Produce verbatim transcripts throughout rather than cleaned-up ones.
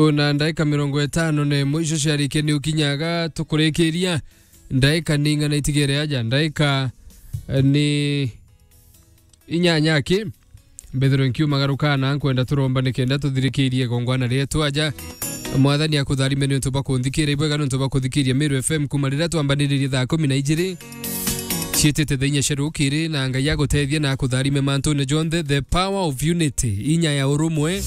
Na ndaika mirongo itano na imwe icio ciarikia ni ukinyaga tukurikiria. Ndaika ni ing'ana itigere aja? Ndaika, eh, ni inyanya ki? Mbethirwe nkiumagaruka na nkwenda turomba nikenda tuthirikirie gongwana rietu aja. Mwathani akutharime niuntu bwa kunthikira, ibwega niuntu bwa kuthikiria Meru F M kuma riria twambaniririe thaa kumi na ijiri. Ciitite thaa inya cia rukiri, na Ngai agutethie na akutharime mantune jonthe. The power of unity, inya ya urumwe.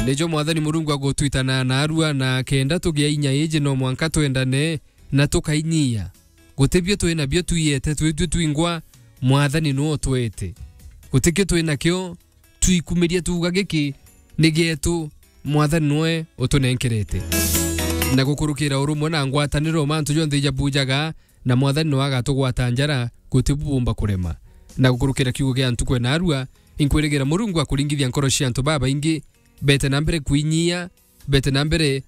Nijo Mwathani Murungu agutwitana narua, na kenda tugia inya iji no mwanka twendane na tukainyia. Guti bio twi nabio twiyete twitwi twingwa, Mwathani niwe utwete. Guti kio twi nakio twikumiria tuuga giki ni gietu, Mwathani niwe utunenkerete. Na gukurukira urumwe na ngwataniro mantu jonthe ijabujaga, na Mwathani niwe agatugwata njara, guti bubumba kurema. Na gukurukira kiugo gia ntuku ya narua, inkwirigira Murungu akuringithia nkoro cia antu babaingi, bete na mbere kwinyia, bete na mbere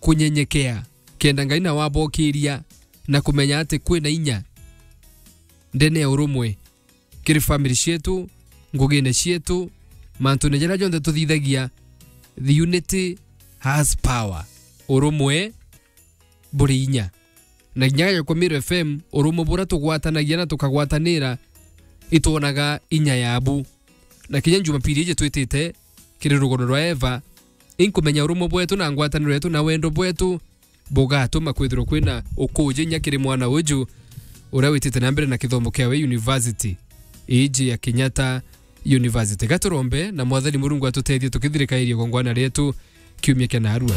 kunyenyekea, kenda Ngai nawe abokiria na kumenya ati kwina inya ndene ya urumwe kiri family cietu, ngugine cietu, mantune jaria jonthe tuthithagia. The unity has power. Urumwe buri inya. Na kinya gaja kwa Meru F M, urumwe buria tugwatanagia na tukagwatanira, itwonaga inya yabu. Na kinya Jumapili iji twitite kiri rugono rwa Eva, inkumenya urumwe bwetu na ngwataniro yetu na wendo bwetu bugatuma kwithirwa kwina ukuuji inya kiri mwana uju uria witite na mbere na kithomo kiawe university iji ya Kenyatta University. Gaturombe na Mwathani Murungu atutethie tukithirikairie gongwana rietu kiumia kia narua.